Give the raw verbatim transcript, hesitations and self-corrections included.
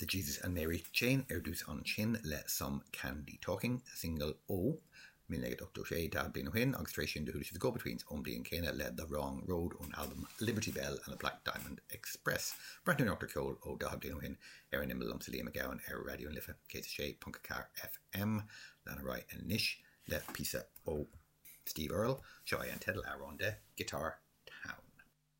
The Jesus and Mary Chain ar dtús ansin le Some Candy Talking, single ó míle naoi gcéad ochtó sé daichead bliain ó shin agus tar éis sin do chuala sibh The Go-Betweens ón bliain céanna le The Wrong Road ón album Liberty Bell and the Black Diamond Express. Breathnú ar ceol ó daichead bliain ó shin ar an imeall liomsa Liam Mac Gabhann ar Raidió na Life céad a sé ponc a ceathair FM lean ar aghaidh anois le píosa ó Steve Earle, seo é an teideal amhrán de Guitar